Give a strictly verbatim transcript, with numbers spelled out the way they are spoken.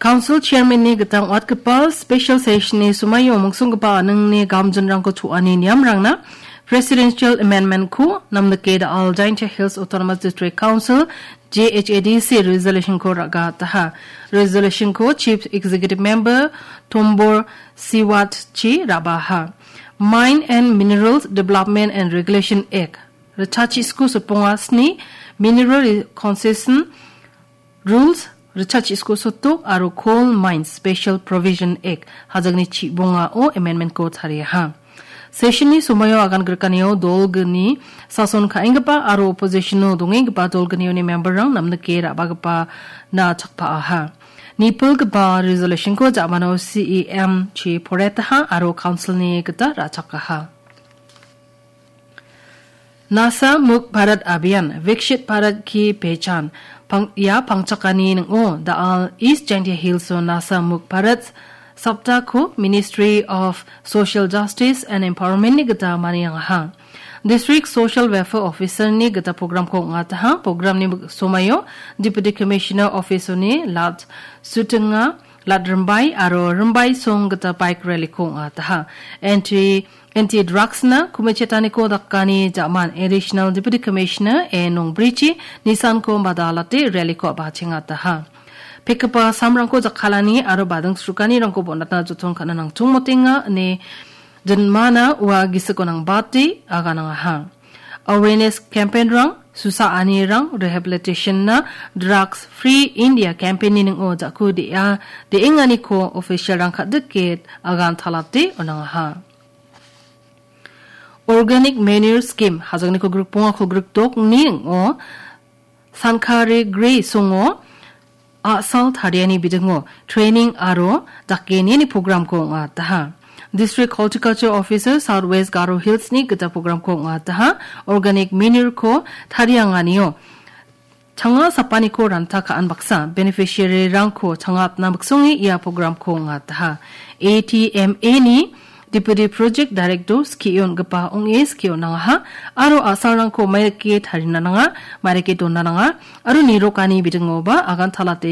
Council Chairman-ni gita ong·atgipa special session-ni somaio mungsonggipa aningni gamjinrangko cho·ani niamrangna Presidential Amendment-ko namnike da·al Jaintia Hills Autonomous District Council, J H A D C, resolution-ko ra·gataha. Resolution-ko Chief Executive Member Tombor Siwatchi ra·baha. Mine and Minerals Development and Regulation Act, ritchachisku soponga sni, Mineral Concession Rules, ritchachisku soto aro Coal Mines Special Provision Act, hajangni chibongao amendment-ko tariaha. Session-ni somaio agan grikanio dolgni sason ka·enggipa aro opposition-o dongenggipa dolgnioni member-rang namnike ra·bagipa na chakpaaha. Nipilgipa resolution-ko ja·mano C E M chi poretaha aro council-ni gita ra·chakaha. Nasha Mukt Bharat Abhiyan, Viksit Bharat Ki Pehchan, pang-, ia pangchakani ning·o, da·al East Jaintia Hills-o Nasha Mukt Bharat Saptako Ministry of Social Justice and Empowerment-ni gita maniangaha. District Social Welfare Officer-ni gita program-ko ong·ataha. Program-ni somaio Deputy Commissioner Office-oni Lat Sutinga, Lat Rimbai aro Rimbai song gita bike rally-ko ong·ataha. Anti Anti-drugs-na kumichetaniko dakani ja·man Additional Deputy Commissioner A Nongbrichi nisanko madalate rally-ko a·bachengataha. Pekgipa samrangko jakkalani aro bading srukanirangko bonatna joton ka·na nangchongmotenga ine jinmana ua gisiko nangbate aganangaha. Awareness campaign-rang, susaanirang, rehabilitation-na drugs free India campaign-ni ning·o ja·ku de·a, de·enganiko official-rang ka·dike agantalate on·angaha. Organic Manure Scheme, hajangni kolgrik bonga kolgrik dokni ning·o, Sankare Gre songo, a·sal tariani bidingo, training aro dake niani program-ko ong·ataha. District Horticulture Officer South West Garo Hills-ni gita program-ko ong·ataha. Organic manure-ko tarianganio, changa sapaniko ranta ka·an baksa beneficiary-rangko changa apna miksonge ia program-ko ong·ataha. A T M A-ni Deputy Project Director skie on·gipa ong·e skie on·angaha aro a·salrangko mairike tarina nanga, mairike dona nanga aro nirokani bidingoba agantalate